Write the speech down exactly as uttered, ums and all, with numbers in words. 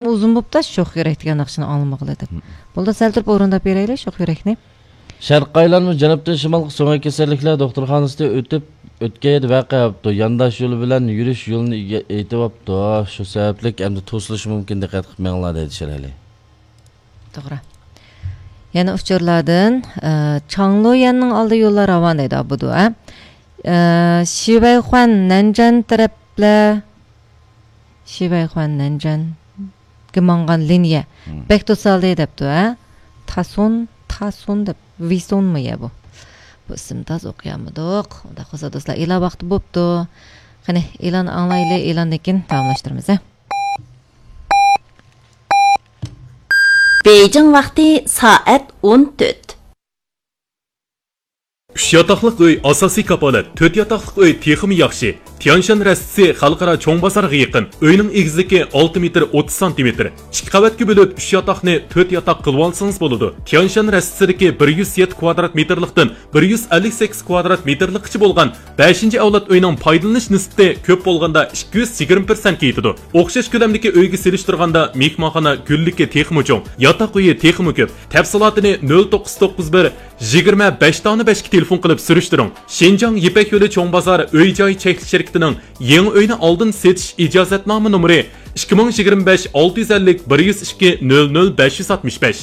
ئۇزۇن بوپتا شوخ يۈرەك دېگەن ناخشىنى ئاڭلىمىغىلى دەپ. بولدى، سەل تۇرۇپ ئورۇنداپ بېرەيلى شوخ يۈرەكنى. شەرقىي ئايلانما جەنۇبتىن شىمالغا سۆڭەك كېسەللىكلەر دوختۇرخانىسىدا ئۆتۈپ، ئۆتكەن يىلى ۋەقە بوپتۇ. يانداش يول بىلەن يۈرۈش يولىنى ئىگە-، ئېيتىۋاپتۇ. شۇ سەۋەبلىك ئەمدى توسۇلۇشى مۇمكىن، دىققەت قىلىپ مېڭىڭلار دەيدۇ شىرئەلى. توغرا. يەنە ئۇچۇرلاردىن، ئە، چاڭلۇيەننىڭ ئالدى يوللار راۋان دەيدۇ، ئابدۇ، ئە. ئە، شىۋەيخۇەن نەنجەن تەرەپلەر، شىۋەيخۇەن نەنجەنگە ماڭغان لىنىيە. مم. بەك توسالدى دەپتۇ، ھە؟ تاسون، تاسون دەپ، ۋىسونمۇ يە بۇ؟ بۇ ئىسىمنى تازا ئوقۇيالمىدۇق. ئۇنداق بولسا دوستلار، ئېلان ۋاقتى بوپتۇ. قېنى، ئېلان ئاڭلايلى، ئېلاندىن كېيىن داۋاملاشتۇرىمىز، ھە؟ بېيجىڭ ۋاقتى سائەت ئون تۆت. ئۈچ ياتاقلىق ئۆي ئاساسىي كاپالەت، تۆت ياتاقلىق ئۆي تېخىمۇ ياخشى. تيانشان رەستىسى خەلقئارا چوڭ بازارغا يېقىن. ئۆينىڭ ئېگىزلىكى ئالتە مېتىر ئوتتۇز سانتىمېتىر. ئىككى قەۋەتكە بۆلۈپ، ئۈچ ياتاقنى تۆت ياتاق قىلىۋالسىڭىز بولىدۇ. تيانشان رەستىسىدىكى بىر يۈز يەتتە كۋادرات مېتىرلىقتىن بىر يۈز ئەللىك سەككىز كۋادرات مېتىرلىققىچە بولغان بەشىنچى ئەۋلاد ئۆينىڭ پايدىلىنىش نىسبىتى كۆپ بولغاندا ئىككى يۈز يىگىرمە پىرسەنتكە يېتىدۇ. ئوخشاش كۆلەمدىكى ئۆيگە سېلىشتۇرغاندا مېھمانخانا گۈللۈكى تېخىمۇ چوڭ، ياتاق ئۆيى تېخىمۇ كۆپ. تەپسىلاتىنى نۆل توققۇز توققۇز بىر يىگىرمە بەش دانە بەشكە تېلېفون قىلىپ سۈرۈشتۈرۈڭ. شىنجاڭ يىپەك يولى چوڭ بازار ئۆي جاي چەكلىك شىركىتىنىڭ يېڭى ئۆينى ئالدىن سېتىش ئىجازەتنامە نومۇرى ئىككى مىڭ يىگىرمە بەش ئالتە يۈز ئەللىك بىر يۈز ئىككى نۆل نۆل بەش يۈز ئاتمىش بەش.